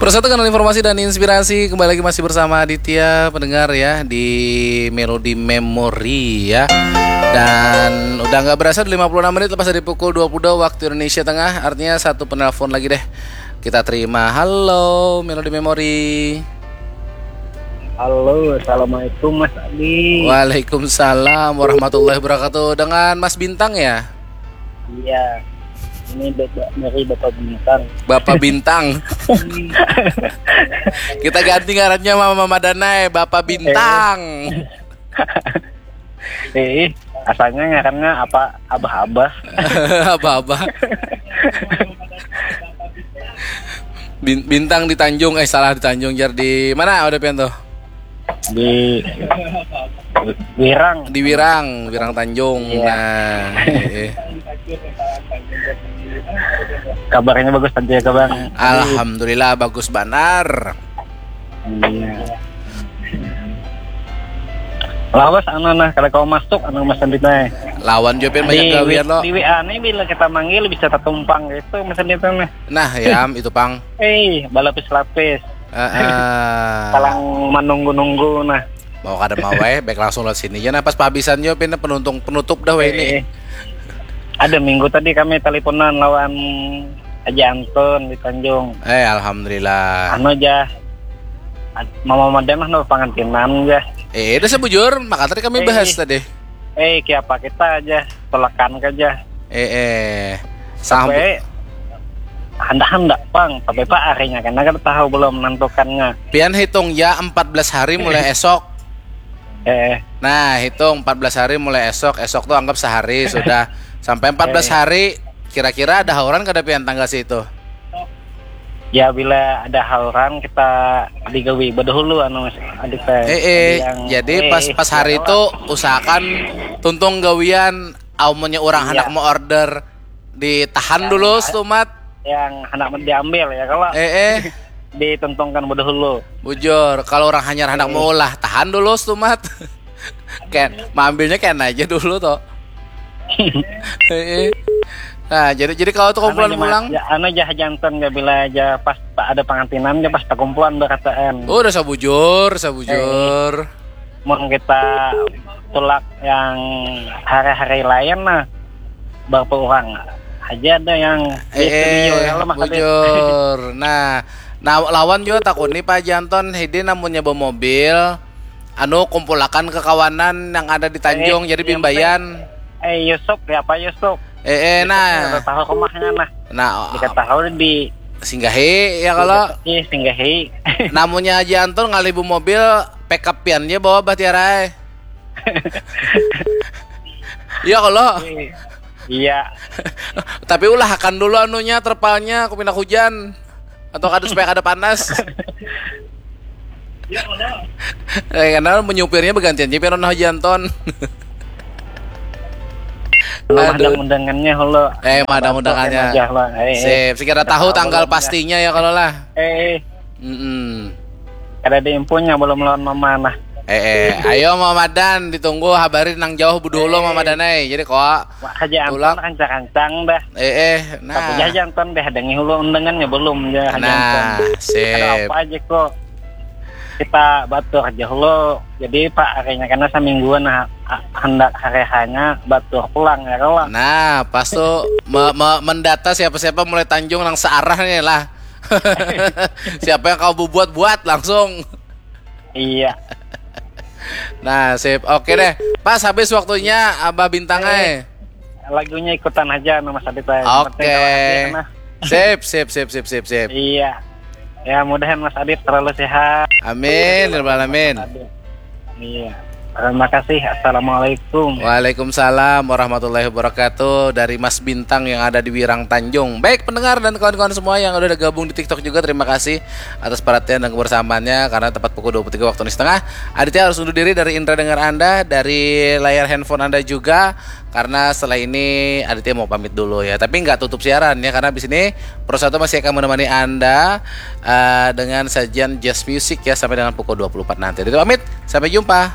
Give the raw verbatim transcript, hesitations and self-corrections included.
Persatu kanal informasi dan inspirasi. Kembali lagi masih bersama Aditya, pendengar ya, di Melody Memory ya. Dan udah nggak berasa, udah lima puluh enam menit lepas dari pukul dua puluh dua waktu Indonesia Tengah. Artinya satu penelpon lagi deh. Kita terima. Halo, Melody Memory. Halo, assalamualaikum Mas Adi. Waalaikumsalam warahmatullahi wabarakatuh. Dengan Mas Bintang ya? Iya, ini Bapak, dari Bapak Bintang. Bapak Bintang. Kita ganti ngarannya sama Mama Danai, Bapak Bintang. Eh, asalnya ngarannya apa? Abah-abah. Abah-abah. Bin- Bintang di Tanjung, eh, salah, di Tanjung, jar, di mana ada pian tuh? Di Wirang. Di Wirang, Wirang Tanjung. Iya. Nah, eh, eh. Kabarnya bagus tadi ya, Bang? Alhamdulillah, bagus banar. Iya. Lawas anu nah, kada kawa masuk anu Mas Andi teh. Lawan jua pian banyak Di, gawian lo. Di W A nih bila kita manggil bisa tatumpang gitu Mas Andi teh nah. Nah, ya, itu pang. Eh, balapis-lapis. Heeh. Kalang menunggu-nunggu nah. Mau kada mau, eh, baik langsung lewat sini aja. Nah, pas pahabisan jua pian penuntung penutup dah weh ini. Eh, ada minggu tadi kami teleponan lawan Aja Anton di Tanjung. Eh, alhamdulillah. Anu aja. Mama Madan mah no pangantinan aja. Eh, udah sebujur, maka tadi kami Eh. bahas tadi. Eh, kiapa kita aja, tolakan aja. Eh, eh. Sampai Sampai handak-handak pang, tapi pak harinya kan kita tahu belum menentukannya. Pian hitung ya empat belas hari mulai esok. Eh, Nah, hitung empat belas hari mulai esok. Esok tuh anggap sehari sudah. Sampai empat belas Eh. hari, kira-kira ada hauran kada pian tanggal situ? Ya bila ada hauran kita digawi badahulu anu Mas Adi teh. Eh, eh, Yang- jadi eh, pas pas hari ya itu usahakan tuntung gawian, amunnya orang Iya. hendak mau order, ditahan Yang dulu ada- setumat. Yang hendak diambil ya kalau Eh, eh, dituntungkan badahulu. Bujur, kalau orang hanyar hendak Eh. maulah, tahan dulu setumat. Kan, maambilnya kan aja dulu toh. Eh, eh. Nah, jadi jadi kalau tuh kumpulan Anu aja, pulang. Mas, ya, anu aja jantan ya bila aja pas tak ada pengantinan aja pas perkumpulan berkataan. Oh, udah sabujur, sabujur. Mun kita tulak yang hari-hari lain nah berapa orang aja ada yang di Eh, studio eh, ya lo Mas Adit. Bujur. Nah, nah lawan juga takuni Pak Janton, hidin namunnya bawa mobil, anu kumpulakan ke kawanan yang ada di Tanjung, Eh, jadi yang bimbayan. Eh Yusuf ya Pak Yusuf. Eh, eh, nah, Udah tahu rumahnya nah. Nah, Diketahui di singgahi ya kalau. Ih, singgahi. Namunnya Janton ngalih bu mobil, pick up pian aja bawa bah tiarai. Iya kalau. Iya. Tapi ulahakan dulu anunya, terpalnya, aku pindah hujan. Atau kada, supaya kada panas. Eh, karena menyupirnya bergantian aja pian nah Janton. Lo Aduh. ada undangannya lo. Eh, ada undangannya. Aja lah. Eh, eh. Sip, sekira tahu Tahu tanggal belum, ya? Pastinya ya kalau lah. Eh, eh. Mm-mm. Kada ada infonya belum lawan mama nah. Eh, eh, ayo Mama Dan, ditunggu habari nang jauh budulu Eh. Mama Dan eh. Jadi kok Wah, aja Tulak. Anton rancang-rancang dah. Eh, eh, Tapi nah. Aja Anton deh, ada ngilu undangannya belum ya Aja Anton. Nah, Ada sip. Apa aja kok. Kita batur aja lo. Jadi Pak harinya karena semingguan nah, a- hendak hari hanya batur pulang ya kalau. Nah, pas tuh me- me- mendata siapa-siapa mulai Tanjung nang searah nih lah. Siapa yang kau buat-buat langsung. Iya. Nah, sip. Oke deh. Pas habis waktunya Abah Bintang Eh. eh. Lagunya ikutan aja nama Mas Adit aja. Yang Oke. penting kalau hadir, nah. Sip, sip, sip, sip, sip, sip. Iya. Ya mudahan Mas Adit terlalu sehat. Amin, ya rabbal alamin. Adit. Iya. Terima kasih. Assalamualaikum. Waalaikumsalam warahmatullahi wabarakatuh. Dari Mas Bintang yang ada di Wirang Tanjung. Baik pendengar dan kawan-kawan semua yang udah gabung di TikTok juga, terima kasih atas perhatian dan kebersamaannya. Karena tepat pukul dua puluh tiga waktu Indonesia Tengah, Aditya harus undur diri dari indra dengar Anda, dari layar handphone Anda juga. Karena setelah ini Aditya mau pamit dulu ya. Tapi nggak tutup siaran ya, karena di sini Pro Satu masih akan menemani Anda eh, dengan sajian jazz music ya sampai dengan pukul dua puluh empat nanti. Aditya pamit, sampai jumpa.